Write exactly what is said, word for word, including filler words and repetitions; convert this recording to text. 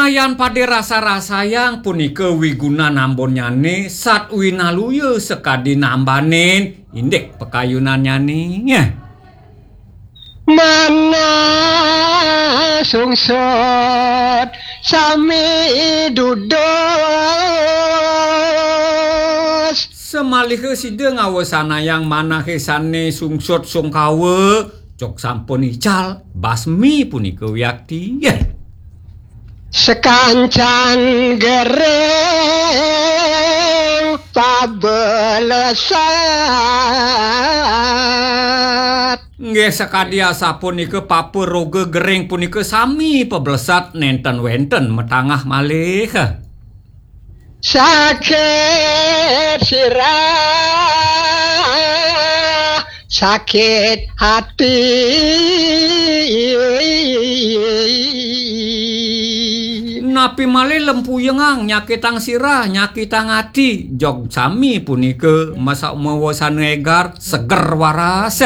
Yan pada rasa-rasayang punika wigunan ambonnyane, sat winaluya sakadi nambanin indik pakayunannyane. Manah sungsut sami dudus. Samaliha sida ngawasanayang manahe sane sungsut sungkawa, cok sampun ical, basmi punika wiakti. Sakancan gering pabelesat. Nggih, sakadi asapunika papa roga gering punika sami pablesat, nenten wenten matangah malih. Sakit sirah, sakit hati. Napi malih lempuyengang, nyakitang sirah, nyakitang ati, jog sami punika masa mawasana egar, seger waras.